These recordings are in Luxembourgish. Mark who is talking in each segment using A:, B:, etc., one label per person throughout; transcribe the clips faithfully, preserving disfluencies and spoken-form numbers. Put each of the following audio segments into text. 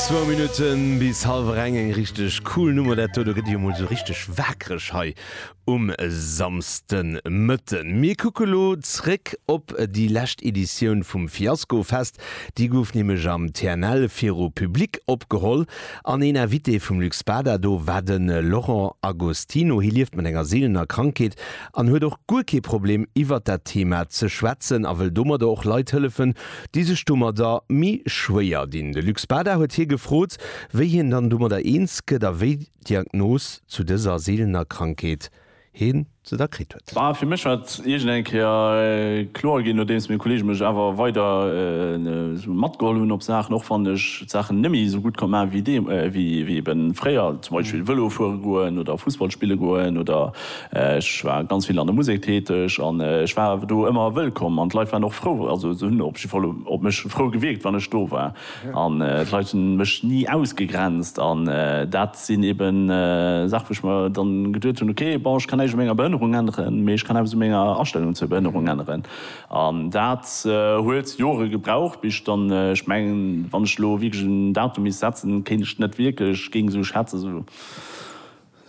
A: Zwou Minutten bis hallwer eng, eng richteg cool Nummer dat do, do gëtt ee jo mol sou richteg waakreg hei um Samsdenmëtten. Mir kucke lo zréck op déi lescht Editioun vum Fiasko Fest, déi gouf nämlech am T N L viru Public opgeholl an een Invité vum Luc Spada do war de Laurent Agostino. Hie lieft mat enger seelener Krankheet an huet och guer kee Problem iwwert dat Thema ze schwätzen a wëll domadder och Leit hëllefen, déi sech domadder méi schwéier dinn. De Luc Spada huet hie gefrot, wéi hien dann domadder eens gëtt a wéi d'Diagnos zu dëser seelener Krankheet hien se da kritt huet.
B: Bah, fir mech war et iergend eng Kéier kloer ginn, nodeems meng Kolleege mech awer weider matgeholl hunn op Saachen, och wann ech d'Saachen net méi esou gutt konnt maachen, wéi dee, wéi, wéi eben fréier, zum Beispill Vëlo fuere goen oder Fussball spille goen oder ech war ganz vill an der Musek täteg an ech war awer do ëmmer wëllkomm an d'Leit waren och frou, also se hunn op jidde Fall op mech frou gewierkt, wann ech do war an d'Leit hunn mech ni ausgegrenzt an dat sinn eben Saachen, wou ech mer dann geduet hunn, okay, bon, ech kann näischt u menger Behënnerung änneren, mee ech kann eppes u menger Astellung zur Behënnerung änneren. An dat huet Jore gebraucht, bis ech dann, ech mengen, wann ech elo wierklech en Datum misst setzen, kéint ech net wierklech, géing esou schätzen, esou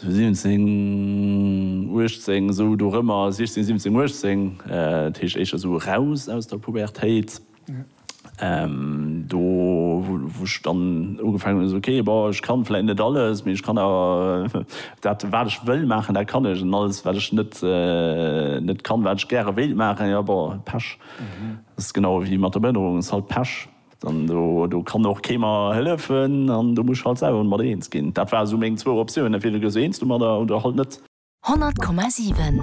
B: siwwenzéng, uechtzéng, esou dorëmmer, siechzéng, siwwenzéng, uechtzéng, dat heescht éischter esou eraus aus der Pubertéit. Do wou ech dann ugefaangen hunn, esou ok, bon, ech kann vläit net alles, mee ech kann awer dat wat ech wëll maachen, dat kann ech, an alles wat ech net net kann, wat ech gäre wéilt maachen, jo bon, Pech. Dat ass genau wéi mat der Behënnerung, ass halt Pech. Dann do do kann och kee mer hëllefen an do muss ech halt selwer mat eens ginn. Dat war esou meng zwou Optiounen, entweder gëss eens domadder oder halt net.
C: honnert Komma siwen.